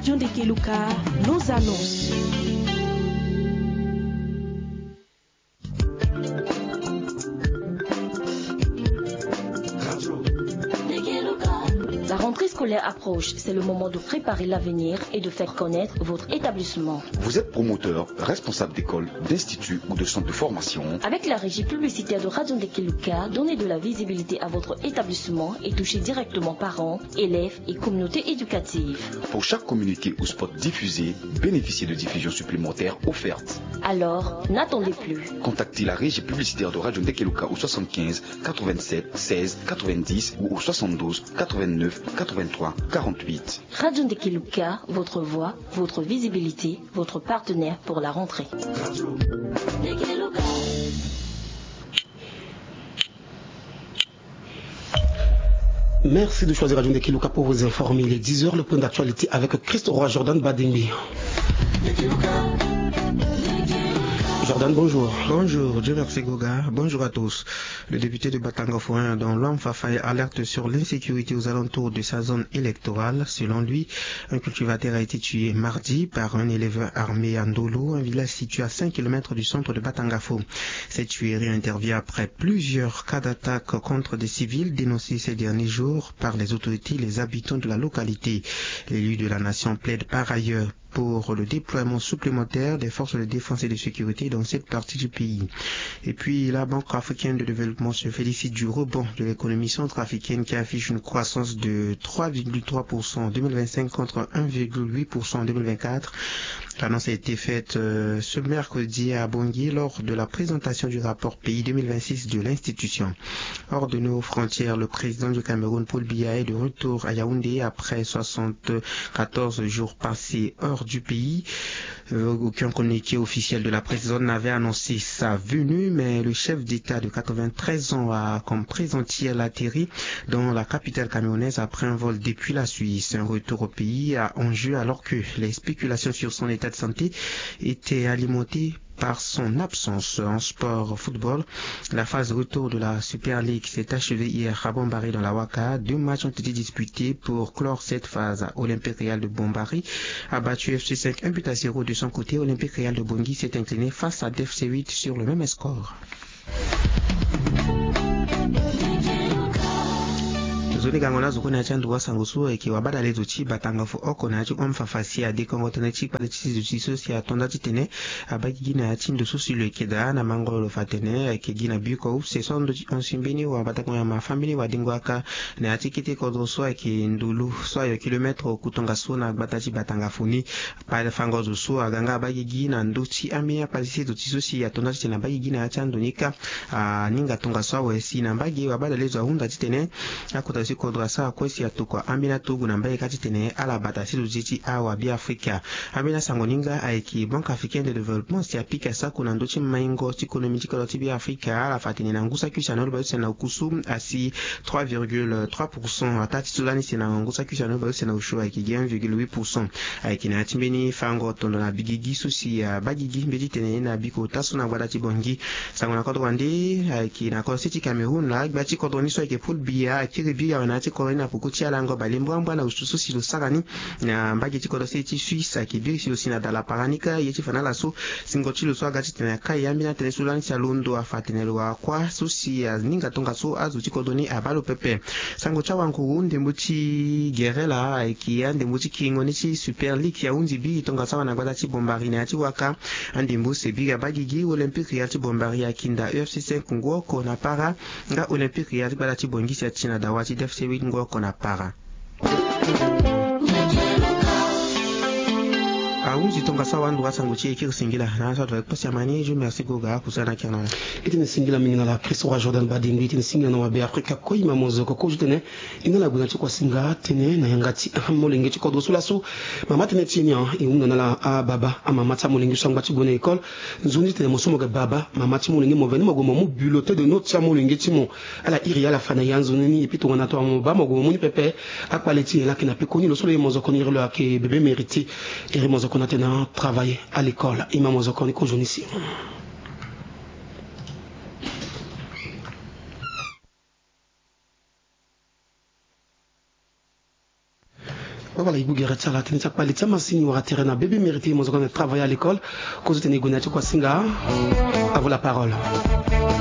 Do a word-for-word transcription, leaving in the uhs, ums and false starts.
Radio Ndekeluka, nos annonces. La rentrée scolaire approche, c'est le moment de préparer l'avenir et de faire connaître votre établissement. Vous êtes promoteur, responsable d'école, d'institut ou de centre de formation. Avec la régie publicitaire de Radio Ndekeluka, donnez de la visibilité à votre établissement et touchez directement parents, élèves et communauté éducative. Pour chaque communiqué ou spot diffusé, bénéficiez de diffusions supplémentaires offertes. Alors, n'attendez plus. Contactez la régie publicitaire de Radio Ndekeluka au soixante-quinze quatre-vingt-sept seize quatre-vingt-dix ou au soixante-douze quatre-vingt-neuf quatre-vingt-trois quarante-huit. Radio Ndekeluka, votre voix, votre visibilité, votre partenaire pour la rentrée. Merci de choisir Radio Ndekeluka pour vous informer. Il est dix heures, le point d'actualité avec Christ Roi Jordan Badengbi. Jordan, bonjour. Bonjour, Dieu merci Goga. Bonjour à tous. Le député de Batanga Foin, dont Loam Fafa, alerte sur l'insécurité aux alentours de sa zone électorale. Selon lui, un cultivateur a été tué mardi par un élève armé à Ndolo, un village situé à cinq kilomètres du centre de Batangafo. Cette tuerie intervient après plusieurs cas d'attaque contre des civils dénoncés ces derniers jours par les autorités et les habitants de la localité. L'élu de la nation plaide par ailleurs pour le déploiement supplémentaire des forces de défense et de sécurité dans cette partie du pays. Et puis, la Banque africaine de développement se félicite du rebond de l'économie centrafricaine, qui affiche une croissance de trois virgule trois pour cent en deux mille vingt-cinq contre un virgule huit pour cent en deux mille vingt-quatre. L'annonce a été faite, euh, ce mercredi à Bangui lors de la présentation du rapport pays deux mille vingt-six de l'institution. Hors de nos frontières, le président du Cameroun, Paul Biya, est de retour à Yaoundé après soixante-quatorze jours passés hors du pays. Euh, aucun communiqué officiel de la présidence n'avait annoncé sa venue, mais le chef d'État de quatre-vingt-treize ans a, comme présidentiel, atterri dans la capitale camerounaise après un vol depuis la Suisse. Un retour au pays à enjeu alors que les spéculations sur son état de santé étaient alimentées par son absence. En sport, football, la phase retour de la Super League s'est achevée hier à Bombari dans la Waka. Deux matchs ont été disputés pour clore cette phase. Olympique Real de Bombari a battu F C cinq un but à zéro. De son côté, Olympique Real de Bangui s'est incliné face à D F C huit sur le même score. Zo ni gango na zo kue na ya ti ando wa sango so ayeke wabadale zo ti Batangafo oko na ya ti home fafa si adekongo tënë ti kpale ti zo ti so si ato nda titene abaa gigi na ya ti ndo so si lo yeke daa na mango lo fa atene ayeke gi na biko use so ando ti hon si mbeni wabadako nyama fambeni wadengo aka na ya ti kete kodro so ayeke ndulu so ayo kilomètre oku tongaso na gbata ti Batangafo ni. Kpale fango zo so aga nga abaa gigi na ndö ti ambeni akpale ti se zo ti so si ato nda titene abaa gigi na ya ti ando ni kâ. Aninga tongaso awe si na mbage wabadale zo ahunda titene akota zo ti kodro asara kue si atokua ambeni aturugu na mbage kâ titene ala bata si zo ti ti awa Beafrika. Ambeni asango ni nga ayeke Banque Africaine de Développement si apika sako na ndö ti maingo ti konomi ti kodro ti Beafrika. Ala fa atene na ngu saki use na oloba use na okusu asi trois virgule trois pour cent. Ataa ti so lani si na ngu saki use na oloba use na osio ayeke gi un virgule huit pour cent. Ayeke na ya ti mbeni fango tondo na bigigi so si abaa gigi mbeti tene na biko ota so na gbata ti Bangui. Sango na kodro wande ayeke na kodro se ti Cameroun na agba ti kodro ni so ayeke Paul Biya akiri biri awe na ya ti kodro ni na poko ti alango bale mbuambua na osio so si lo sara ni na mbage ti kodro se ti Suisse ayeke biri si lo si na dala para ni kâ ye ti fa na ala so singo ti lo so aga titene akai ambeni atënë so lani si alondo afa atene lo wara kuâ so si aninga tongaso azo ti kodro ni abaa lo pepe. Sango ti awanguru ndembo ti gere laa ayeke andembo ti kiringo ni ti Super League ahunzi biri tongaso awe na gbata ti Bombari na ya ti waka. Andembo use biri abaa gigi Olympique Real ti Bombari akinda U F C cinq ngu oko na para nga Olympique Real ti gbata ti Bangui si ati na dawa ti D F C huit ngu oko na para. Ahunzi tongaso awe ando wa sango ti e kiri singila na aso ado wa kpasi amani. Je merci Goga akusana kiri na ala. E tene singila mingi na ala Christ Roi Jordan Badengbi. E tene singila na wa Beafrika kue e ma mozoko kozo titene e na ala gue na ti kuasinga tënë na yanga ti amolenge ti kodro so laso. Mama tënë ti e ni e hunda na ala ababa amama ti amolenge so angba ti gue na école. Nzoni titene mo so mo ga baba mama ti molenge mo veni mo gue mo mu bulletin de note ti amolenge ti mo. Ala iri ala fa na ya nzoni ni epui tongana tongana mo baa mo gue mo mu ni pepe. Akpale ti e laa ayeke na pekoni lo so lo ye mozoko ni iri lo ayeke bebe mérité. Iri mozoko ni atene travailler à l'école e ma mozoko ni kozo ni si. Wawala e gbu gere ti ala tënë ti akpale ti amasini wala tere na bebe mérité mo zo ka na travailler à l'école. Kozo tene e gue na ya ti kuasinga. À vous la parole.